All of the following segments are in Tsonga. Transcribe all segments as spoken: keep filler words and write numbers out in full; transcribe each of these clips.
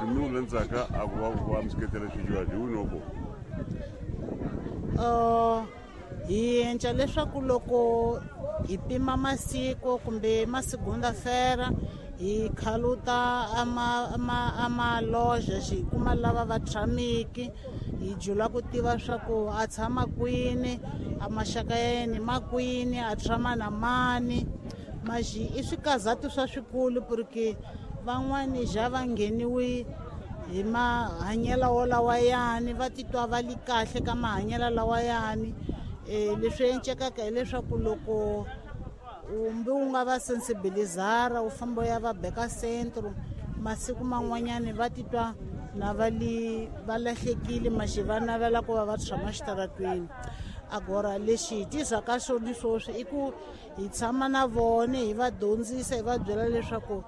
mi wu landzaka a ku va va mi seketela swidyuhari hi wini wa kona? Uh, hi endla leswaku loko hi pima masiku kumbe masigunda-fera hi khaluta ama ama amaloja xi kuma lava va tshamiki hi jula ku tiva swa ku a tshama kwini a maxaka ya yena ma kwini a tshama na mani maxi i swikazatu swa swikulu porque van'wani ja va ngheniwi hi mahanyelo wolawayani va titwa va li kahle ka mahanyelo lawayani. um leswi encekaka hileswaku loko umbi u nga va sensibilizara u famba u ya va beka centro masiku man'wanyani va titwa na va li va lahlekile maxi va navela ku va va tshama xitaratweni. Agora lexi hi tirhaka xona sweswi i ku hi tshama na vona hi va dyondzisa hi va byela leswaku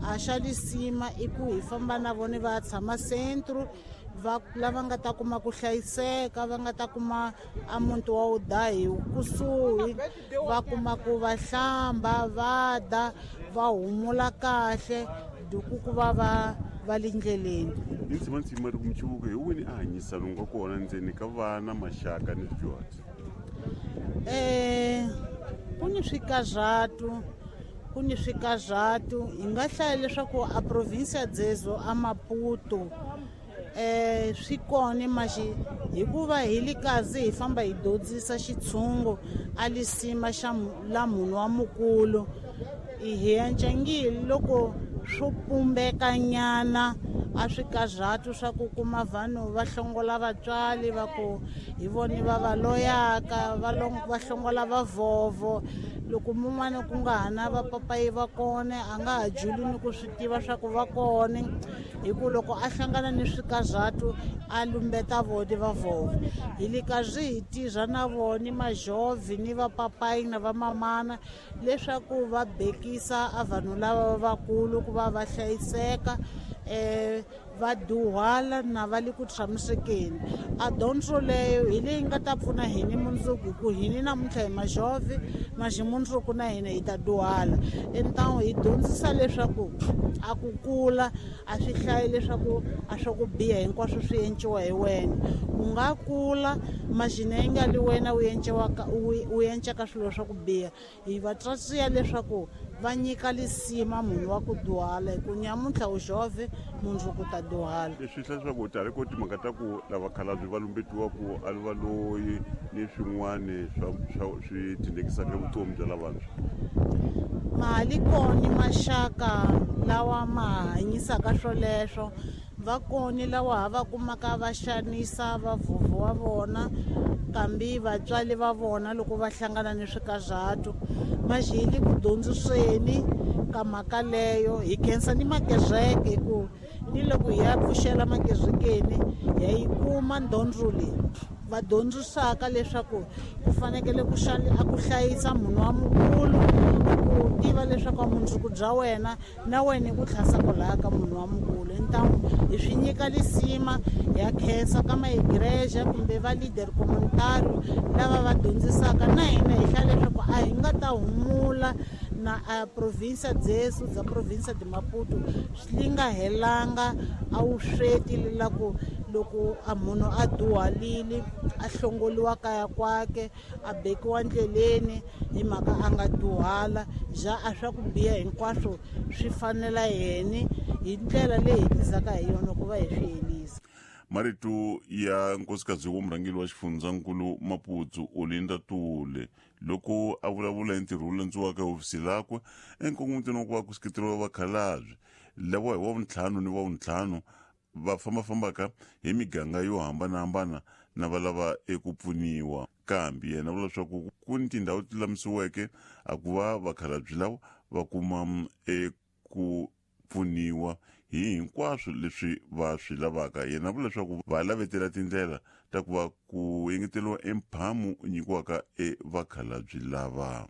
a xa lisima i ku hi famba na vona va tshama centro va lava nga ta kuma ku hlayiseka va nga ta kuma a muti wa udahi kusuhi va kuma ku va hlamba va da va humula kahle duku ku va va va le ndleleni. Hi ntsimantsima ri ku michuvuko hi wini a hanyisano nga kona ndzeni ka vana maxaka ni swidyuhari? Um ku ni swikazatu ku ni swikazatu hi nga hlaya leswaku a provinsia dzezo a Maputo eh swi kona maxi hikuva hi li kazi hi famba hi dyondzisa xitshungu a lisima xa la munhu wa mukulu hi encangile loko swo pumbekanyana a swikazatu swa ku kuma vanhu va hlongola vatswari va ku hi voni va va loyaka va va hlongola vavhovho loko mun'wana ku nga ha na vapapayi va kona a nga ha juli ni ku swi tiva swa ku va kona hi ku loko a hlangana ni swikazatu a lumbeta vona vavhovho. Hi le kazi hi tirha na vona majovhi ni vapapayi na vamamana leswaku va bekisa a vanhu lava vakulu ku va va hlayiseka um va dyuhala na va le ku tshamisekeni. A dyondzo leyo hi leyi nga ta pfuna hini mundzuku hi ku hini namuntlha hi majovhi maxi mundzuku na hina hi ta dyuhala. Entamu hi dyondzisa leswaku a ku kula a swi hlayi leswaku a swa ku biha hinkwaswo swi enciwa hi wena u nga kula maxina yi nga li wena u enciwaka u encaka swilo swa ku biha. Hi va tswatsiya leswaku va nyika lisima munhu wa ku dyuhala hi ku nyamuntlha u jovhe mundzuku ta dyuhala. Leswi hlaya leswaku u tale ko timhaka ta ku lava khalabye va lumbetiwa ku a va loyi ni swin'wana swa swa swi tindekisaka vutomi bya lavantshwa. Mali kona maxaka lawa ma hanyisaka swoleswo va kona lawa ha va kumaka va xanisa vavhovho wa vona kambe vatswari va vona loko va hlangana ni swikazatu maxi hi le ku dyondziseni ka mhaka leyo. Hi khensa ni makereke hi ku ni loko hi ya pfuxela makerekeni ya yi kuma dyondzo leyi va dyondzisaka leswaku ku fanekele ku a ku hlayisa munhu wa mukulu ku tiva leswaku mundzuku bya wena na wena ku tlhasa kwalaya ka munhu wa mukulu. Ntamu hi swi nyika lisima ya khensa ka maigreja kumbe va leader communitario lava va dyondzisaka na hina hi hlaya leswaku a hi nga ta humula na a provinsia dzesu dza provinsia de Maputo swi nga helanga a wu sweti lelaku loko a munhu a dyuhalile a hlongoliwa kaya kwake a bekiwa ndleleni hi mhaka a nga dyuhala ja a swa ku biha hinkwaswo swi fanela yena hi ndlela leyi hi tizaka hi yona ku va hi swi helisa. Marito ya nkosikazi wa murhangeri wa xifundzankulu Maputo Olinda Tule loko a vulavula hi ntirho wu landziwaka ehofisi lakwe enkongomitweni wa ku va ku seketeriwa vakhalabye lava hi wa vuntlhanu ni wa vuntlhanu va fambafambaka hi miganga yo hambanahambana na va lava eku pfuniwa. Kambe yena vula leswaku ku ni tindhawu ti lulamisiweke a ku va vakhalabye lava va kuma eku pfuniwa hi hinkwaswo leswi va swi lavaka. Yena vula leswaku va lavetela tindlela ta ku va ku engeteriwa emphamu nyikiwaka evakhalabye lava.